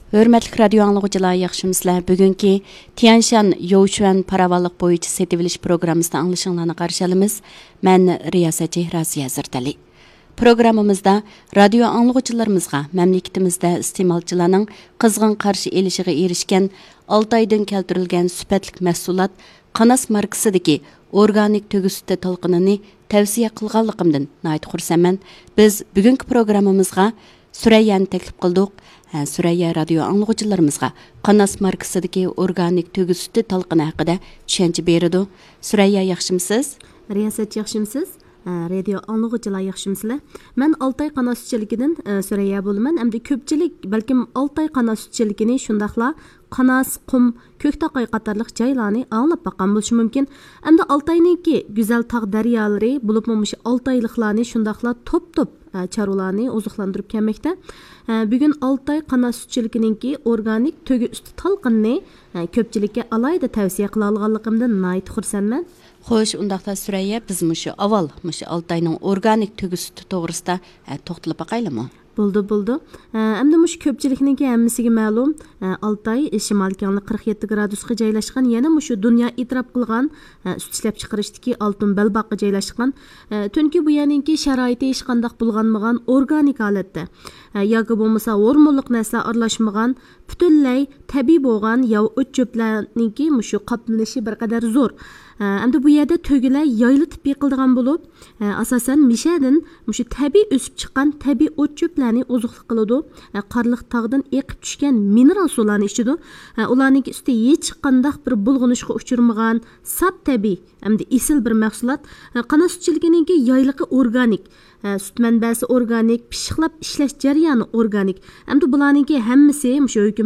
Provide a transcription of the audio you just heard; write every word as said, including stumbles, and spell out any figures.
ھۆرمەتلىك رادىيو ئاڭلىغۇچىلار، ياخشىمۇسىلەر؟ بۈگۈنكى تيەنشان يوۋچۈەن پاراۋانلىق بويىچە سېتىۋېلىش پروگراممىسىنى ئاڭلىشىڭلارنى قارشى ئالىمىز. مەن رىياسەتچى رازىيە زەردەلى. پروگراممىمىزدا رادىيو ئاڭلىغۇچىلىرىمىزغا مەملىكىتىمىزدە ئىستېمالچىلارنىڭ قىزغىن قارشى ئېلىشىغا ئېرىشكەن ئالتايدىن كەلتۈرۈلگەن سۈپەتلىك مەھسۇلات قاناس ماركىسىدىكى ئورگانىك تۆگە سۈتى تالقىنىنى تەۋسىيە قىلغانلىقىمدىن ناھايىتى خۇرسەنمەن. بىز بۈگۈنكى پروگراممىمىزغا سۈرەييەنى تەكلىپ قىلدۇق. ھە، سۈرەييە رادىيو ئاڭلىغۇچىلىرىمىزغا قاناس ماركىسىدىكى ئورگانىك تۆگە سۈتى تالقىنى ھەققىدە چۈشەنچە بېرىدۇ. سۈرەييە، ياخشىمۇسىز؟ رىياسەتچى، ياخشىمسىز؟ ھە، رادىيو ئاڭلىغۇچىلار، ياخشىمسىلەر؟ مەن ئالتاي قاناس سۈتچىلىكىدىن، ئە، سۈرەييە بولىمەن. ئەمدى كۆپچىلىك بەلكىم ئالتاي قاناس سۈتچىلىكىنى، شۇنداقلا قاناس، قۇم، كۆكتاقاي قاتارلىق جايلارنى ئاڭلاپ باققان بولۇشى مۇمكىن. ئەمدى ئالتاينىڭكى گۈزەل تاغ دەريالىرى، بولۇپمۇ مۇشۇ ئالتايلىقلارنى، شۇنداقلا توپ-توپ، ئە، چارۋىلارنى ئوزۇقلاندۇرۇپ كەلمەكتە. ئە، بۈگۈن ئالتاي قاناس سۈتچىلىكىنىڭكى ئورگانىك تۆگە سۈتى تالقىنىنى، ئە، كۆپچىلىككە ئالاھىدە تەۋسىيە قىلالىغانلىقىمدىن ناھايىتى خۇرسەنمەن. خوش، ئۇنداقتا سۈرەييە، بىز مۇشۇ ئاۋۋال مۇشۇ ئالتاينىڭ ئورگانىك تۆگە سۈتى توغرىسىدا، ئە، توختىلىپ باقايلىمۇ؟ بولدى، بولدى. ئە، ئەمدى مۇشۇ كۆپچىلىكنىڭكى ھەممىسىگە مەلۇم، ئە، ئالتاي شىمالىي كېڭلىك قىرىق يەتتە گرادۇسقا جايلاشقان، يەنە مۇشۇ دۇنيا ئېتىراپ قىلغان، ئە، سۈت ئىشلەپچىقىرىشتىكى ئالتۇن بەلباغقا جايلاشقان. ئە، چۈنكى بۇ يەرنىڭكى شارائىتى ھېچقانداق بۇلغانمىغان ئورگانىك ھالەتتە، ئە، ياكى بولمىسا ھورمونلۇق نەرسىلەر ئارىلاشمىغان، پۈتۈنلەي تەبىئىي بولغان ياۋا ئوت چۆپلەرنىڭكى مۇشۇ قاپلىنىشى بىر قەدەر زور. ئە، ئەمدى بۇ يەردە تۆگىلەر يايلىتىپ يېقىلىدىغان بولۇپ، ئاساسەن، مىشەدىن مۇشۇ تەبىئىي ئۆسۈپ چىققان تەبىئىي ئوت چۆپلەرنى ئوزۇقلۇق قىلىدۇ. قارلىق تاغدىن ئېقىپ چۈشكەن مىنېرال سۇلارنى ئىچىدۇ. ئۇلارنىڭكى سۈتى ھېچقانداق بىر بۇلغىنىشقا ئۇچرىمىغان، ساپ تەبىئىي ھەمدە ئېسىل بىر مەھسۇلات. قاناس سۈتچىلىكىنىڭكى يايلىقى ئورگانىك، سۈت مەنبەسى ئورگانىك، پىششىقلاپ ئىشلەش جەريانى ئورگانىك. ئەمدى بۇلارنىڭكى ھەممىسى مۇشۇ ھۆكۈمەت